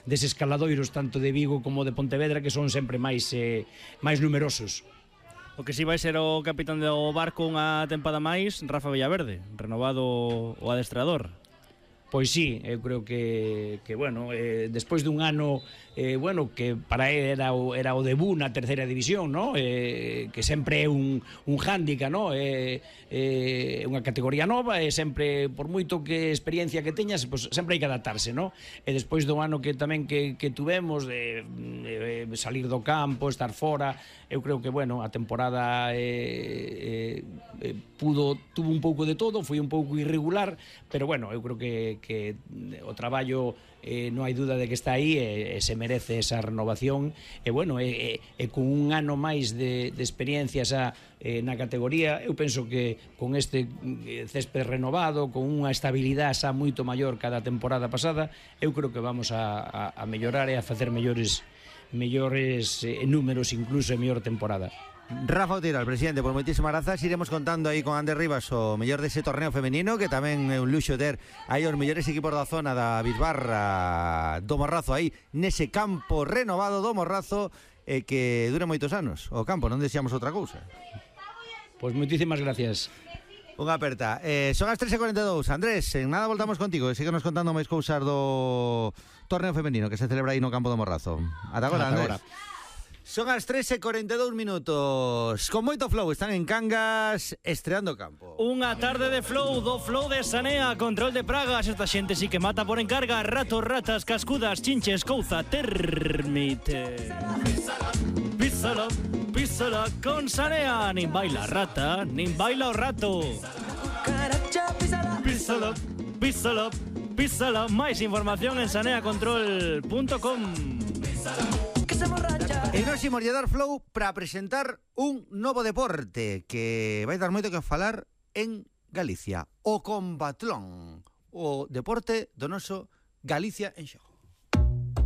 deses caladoiros tanto de Vigo como de Pontevedra, que son sempre máis numerosos. O que si vai ser o capitán do barco unha tempada máis, Rafa Villaverde, renovado o adestrador. Pois sí, eu creo que bueno, despois dun ano bueno, que para ele era o debut na terceira división, ¿no? Que sempre é un hándicap, ¿no? Unha categoría nova e sempre, por moito que experiencia que teñas, pues, sempre hai que adaptarse, ¿no? E despois do ano que tamén que tuvemos de salir do campo, estar fora, eu creo que, bueno, a temporada tuvo un pouco de todo, foi un pouco irregular, pero bueno, eu creo que o traballo non hai duda de que está aí e se merece esa renovación e bueno, con un ano máis de experiencia na categoría, eu penso que con este césped renovado, con unha estabilidade xa moito maior cada temporada pasada, eu creo que vamos a mellorar e a facer mellores números, incluso en mellor temporada. Rafa Otero, presidente, por moitísimas grazas. Iremos contando aí con Ander Rivas o mellor dese torneo femenino, que tamén é un luxo ter aí os mellores equipos da zona da Bisbarra do Morrazo aí nese campo renovado do Morrazo, que dura moitos anos. O campo, non deseamos outra cousa. Pois moitísimas gracias. Unha aperta. Son as 3:42. Andrés, en nada voltamos contigo e síguenos contando máis cousas do torneo femenino que se celebra aí no campo do Morrazo. Ata agora, Andrés. Son as 3:42 minutos. Con moito flow, están en Cangas estreando campo. Unha tarde de flow, do flow de Sanea, control de pragas. Esta xente sí que mata por encarga. Ratos, ratas, cascudas, chinches, couza, termite. Písala, písala con Sanea. Nin baila rata, nin baila o rato. Písala, písala, písala. Máis información en saneacontrol.com. E nos imos dar flow para presentar un novo deporte que vai dar moito que falar en Galicia, o combatlón, o deporte do noso Galicia en xogo.